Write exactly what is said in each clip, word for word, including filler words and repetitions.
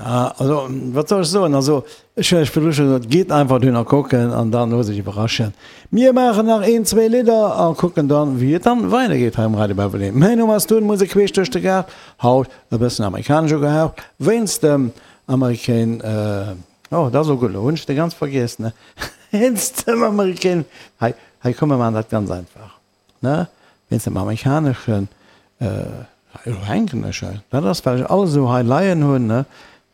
Also, wat soll ech soen? Also, ech hunn lech virdru scho gesot, gitt einfach dohinner kucken an dann loosst iech iwwerraschen. Mir maachen nach een, zwee Lidder a kucken dann, wéi et dann weidergeet hei um Radio Beverley. Mäin Numm ass Tun, Musek queesch duerch de Gaart. Haut e bëssen amerikanesch ugehaucht, wéinst dem American, oh, dat ass och gutt, elo hunn ech de ganz vergiess, ne? Wéinst dem American, hei, hei komm, mir maachen dat ganz einfach, ne? Wéinst dem amerikaneschen, Elo hänken ech hei. Dat ass, well ech alles esou hei leien hunn, ne?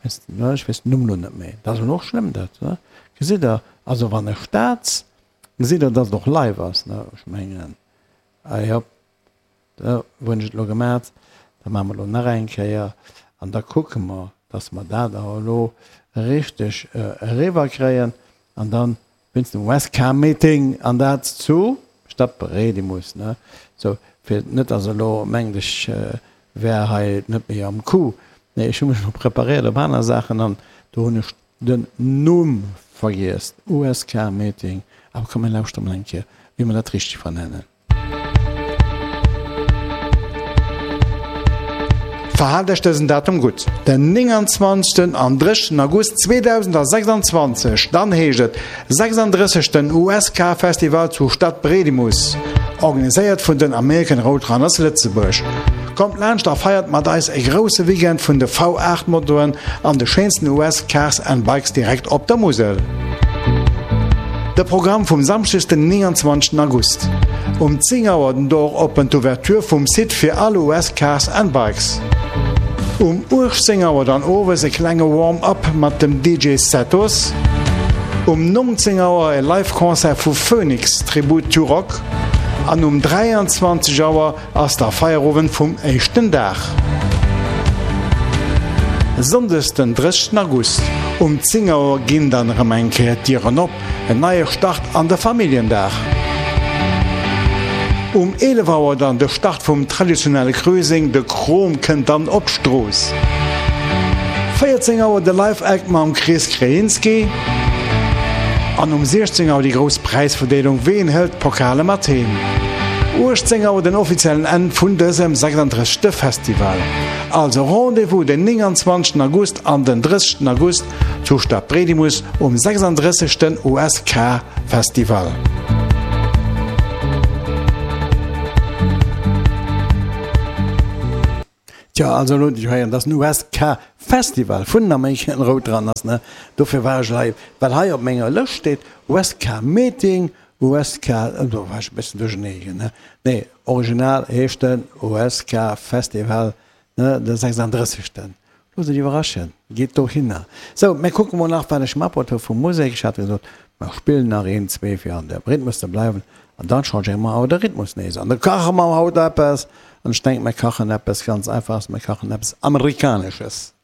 Weess, ech weess den Numm elo net méi. Dat ass elo och schlëmm, dat, ne? Gesitt Der, also wann ech dat, gesitt Der, dass et och live ass, ne? Ech mengen, ah jo, da hunn ech et elo gemat. Da maache mer elo nach eng Kéier an da kucke mer, dass mer dat awer elo richteg eriwwerkréien. An dann wéinst dem Westcar-Meeting an dat zu Stadbredimus, ne? Sou, fir net dass elo mengt ech wär hei net méi am Coup. Nee, ech hu mech elo preparéiert op aner Saachen an do hunn ech den Numm vergiess, U S K Meeting. Awer komm mir lauschtere mol eng Kéier, wéi mer dat richteg vernennen. Verhaalt Iech dësen Datum gutt, den nénganzwanzegsten an drëssegsten August zweedausendsechsanzwanzeg, dann heescht et sechsanddrëssegsten U S K Festival zu Stadbredimus, organiséiert vun den American Roadrunners Lëtzebuerg. Kommt laanscht a feiert mat eis e grousse Weekend vun de V aacht Motoen an de schéinsten U S Cars and Bikes direkt op der Musel. De Programm vum Samschdeg den nénganzwanzegsten August. Um zéng Auer den Door open, d'Ouverture vum Site fir all U S Cars and Bikes. Um uechtzéng Auer dann owes e klenge Warm-Up mat dem D J Setos. Um nonzéng Auer e Live Concert vu Phoenix, Tribute to Rock. An um dräianzwanzeg Auer ass da Feierowend vum éischten Dag. Sonndes den drëssegsten August um zéng Auer ginn dann erëm eng Kéier d'Dieren op, en neie Start an de Familljendag. Um eelef Auer dann de Start vum traditionelle Cruising, de Krom kënnt dann op d'Strooss. véierzéng Auer de Live Act mam Chris Krajinski an um siechzéng Auer déi grouss Präisverdeelung, ween hëlt d'Pokale mat heem? uechtzéng Auer den offiziellen Enn vun dësem sechsanddrëssegste Festival. Also Rendez-vous den nénganzwanzegsten August an den drëssegsten August zu Stadbredimus um sechsanddrëssegsten U S K Festival. Tjo, also elo hunn ech héieren, dass den U S K Festival vun den American Roadrunners, ne, dofir war ech hei, well hei op menger Lëscht steet U S K Meeting, U S K, do war ech e bëssen duerchernee, ne. Nee, original heescht den U S K Festival, ne, de sechsanddrëssegsten. Loosst iech iwwerraschen, gitt dohinner. Sou, mir kucke mol nach, wat ech matbruet hu vu Musek. Ech hat gesot, mer spillen nach een, zwee, fir an dem Rhythmus ze bleiwen. An dann changéiere mer awer de Rhythmus nees an da kache mer haut eppes. An ech denken, mer kachen eppes ganz Einfaches, mer kachen eppes Amerikanesches.